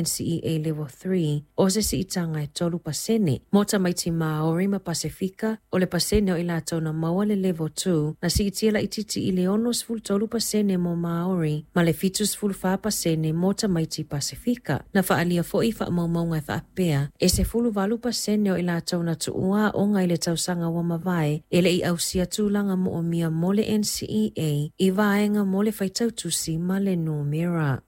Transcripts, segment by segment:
NCEA Level 3, o se siitaga e 3%. Mo tamaiti Māori ma Pasefika, o le pasene o i latou na maua le Level 2, na siitia laitiiti i le 63% mo Māori ma le 74% mo tamaiti Pasefika. Na faaalia foi faamaumauga e faapea, e 18% o i latou na tuua aoga i le tausaga ua mavae e le i ausia tulaga moomia mo le NCEA i vaega mo le faitau tusi ma le numera.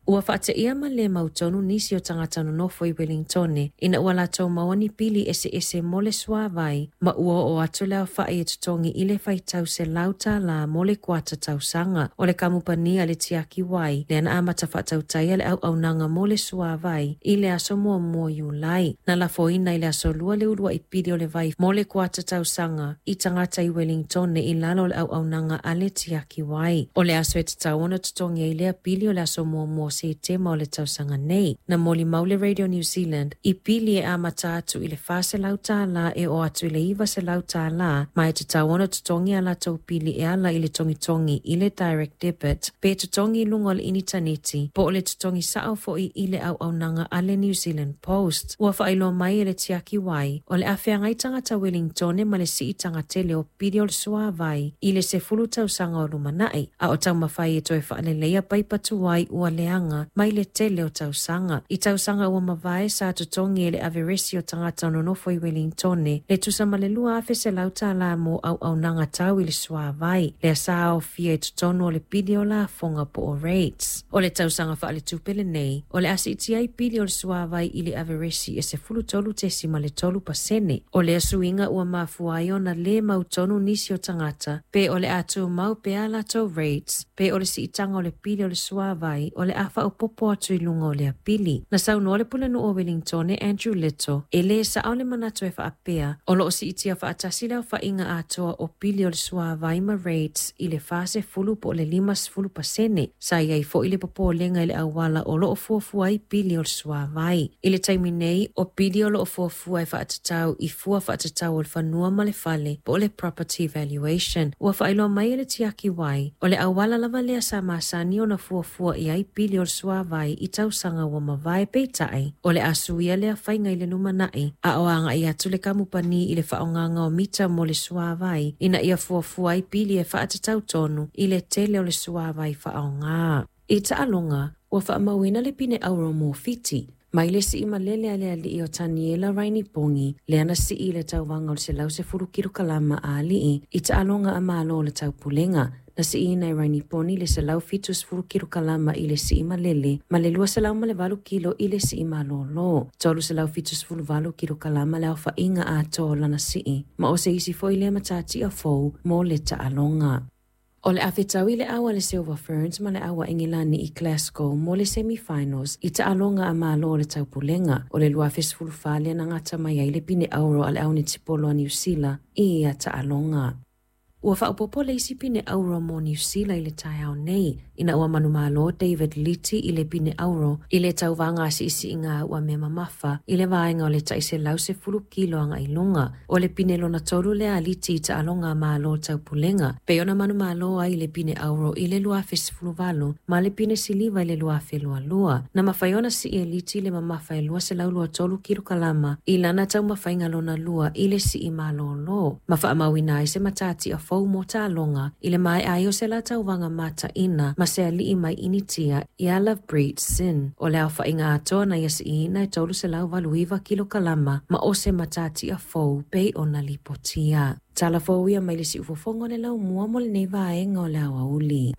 Ua faateia ma le mautonu nisi o tagata nonofo i Welingtone ina ua latou maua ni pili eseese mo le suāwai ma ua oo atu le aofa'i e totogi i le faitau $100 mo le kuata tausaga. O le kamupani a le tiaki wai lea na amata faatautaia le auaunaga mo le suāwai i le aso 1 o Iulai. Na lafoina i le aso Lua le uluai pili o le vai mo le kuata tausaga i tagata i Welingtone i lalo o le auaunaga a le tiaki wai. O le aso e tatau ona totogi ai lea pili o le aso 1 o Setema o le tausaga nei. Na molimau le Radio New Zealand i pili e amata atu i le $400 e oo atu i le $900 ma e tatau ona totogi a latou pili e ala i le togitogi i le direct debit pe totogi i luga o le initaneti po o le totogi sao foi i le auaunaga a le New Zealand Post. Ua faailoa mai e le tiaki wai o le a feagai tagata Wellingtone ma le siitaga tele o pili o le suāwai i le 10 tausaga o lumanai, a o taumafai e toe faaleleia paipa tuai ua leaga mai le tele o tausaga. I tausaga ua mavae sa totogi e le averesi o tagata nonofo i Wellingtone le tusa ma le $2,100 mo auaunaga tau i le suāwai, lea sa aofia i totonu o le pili o lafoga po o rates. O le tausaga faaletupe lenei, o le a siitia ai pili o le suāwai i le averesi e 13.3%. O lea suiga ua mafua ai ona lē mautonu nisi o tagata pe o le a tumau pea latou rates pe o le siitaga o le pili o le suāwai o le a faaopoopo atu i luga o lea pili. Na saunoa le pulenuu o Wellingtone Andrew Little e lē sao le manatu e faapea o loo siitia faatasi le aofaiga atoa o pili o le suāwai ma rates i le 40 po o le 50%. Sa i ai foi le popolega i le auala o loo fuafua ai pili o le suāwai. I le taimi nei, o pili o loo fuafua e faatatau i fua faatatau o le fanua ma le fale po o le property valuation. Ua faailoa mai e le tiaki wai, o le auala lava lea sa masani ona fuafua i ai pili o le suāwai i tausaga ua mavae, peitai o le a suia lea faiga i le lumanai a o agai atu le kamupani i le faaaogaga o mita mo le suāwai ina ia fuafua ai pili e faatatau tonu i le tele o le suāwai faaaoga. I taaloga, ua faamauina le pine auro mo Fiti mai le sii malele a le alii o Taniela Rainipogi lea na sii i le tauvaga o le 110 kilokalama a alii i taaloga a Malo o le Taupulega. Na siiina e Rainiponi le 170 kilokalama i le sii malele ma le 208 kilo i le sii malōlō. 378 kilokalama le aofaiga atoa o lana sii, ma o se isi foi lea matatia fou mo le taaloga. O le a fetaui le au a le Silver Ferns ma le au a Engilani i Glasgow mo le semi-finals i taaloga a Malo o le Taupulega. O le 2014 lea na gata mai ai le pine auro a le au netipolo a Niu Sila i ia taaloga. Ua faaopoopo le isi pine auro mo Niu Sila i le taeao nei, ina ua manumalo David Liti i le pine auro i le tauvaga a siisiiga ua mea mamafa i le vaega o le tai 110 kilo agai luga. O le pine lona tolu lea a Liti i taaloga a Malo Taupulega, pei ona manumalo ai i le pine auro i le 2018 ma le pine siliva i le 2022. Na mafai ona sii e Liti le mamafa e 223 kilokalama i lana taumafaiga lona lua i le sii malōlō, ma faamauina ai se matatia fou mo taaloga i le maea ai o se la tauvaga mataina ma se alii mai Initia ia Lovepreet Singh. O le aofaiga atoa na ia siiina e 389 kilokalama ma o se matatia fou pei ona lipotia. Tala fou ia mai le siufofoga o le laumua mo lenei vaega o le aoauli.